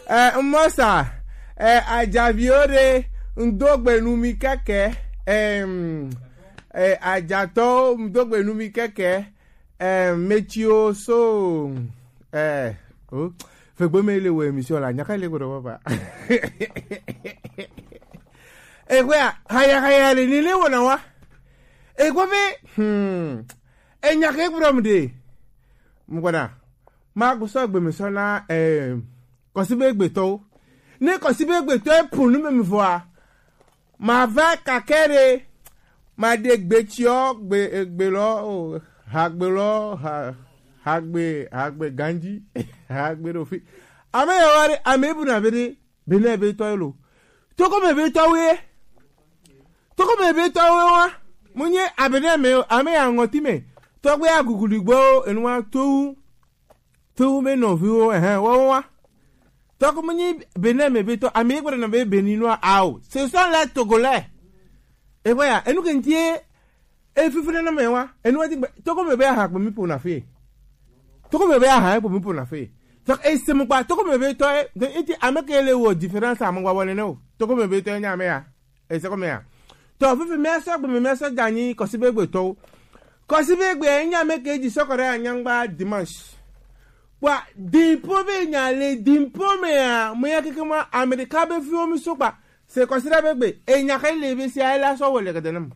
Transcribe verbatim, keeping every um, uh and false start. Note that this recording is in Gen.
Eh, mɔsa, eh, ajaviwo ɖe, ŋdo gbe nu mi keke, em, eh, ajatɔwo, ŋdo gbe nu mi keke, em, metsiwo so, eh, o, fegbe me le wo émission la, nyaka le gbe ɖe papa. Egbea, haya, haya le ni le wo na wa. Egbe be, hmm, enya ke gblɔm ɖe. Mgbɔna, ma gbɔsɔ gbe me sɔ na, eh, kɔsi be gbetɔwo. Ne kɔsi be gbetɔ e punu me mi vɔa, ma va kakɛ ɖe, ma ɖe gbe tsiɔ, gbe, gbe lɔ, o, ha gbe lɔ, ha, ha gbe, ha gbe ganji, ha gbe ɖo fi. Ame yawo ɖe, ame bu na be ɖe, Benin be tɔ ye lo. Toko me be tɔ wo ye. Toko me be tɔ wo wa. Mu nye abene me o, ame ya ŋɔti me. Tɔgbe ya guguli gbo, enu wa to, to me no vi wo, eh, wo wa. Toko mu nye Benin me be tɔ, ame gbe na be Benin no a o. Ce sont les Togolais. E wa ya, enu ke ntie, e fifi na me wa. Enu wa ti gbe, toko me be ha gbe mi po na fe. Toko me be aha e po mi po na fe. Donc e se mo gba toko me be to e, de iti ame ke le wo différence amo gba wole ne o. Toko me be to e nya me ya. E se ko me ya. To fifi me so gbe me so dani ko si be gbe to. Ko si be gbe nya me ke di so ko re anya ngba dimanche. Wa di po be nya le di po me ya, mo ya keke ma America be fi o mi so gba. Se ko si da be gbe, e nya ke le be si a la so wole ke de nam.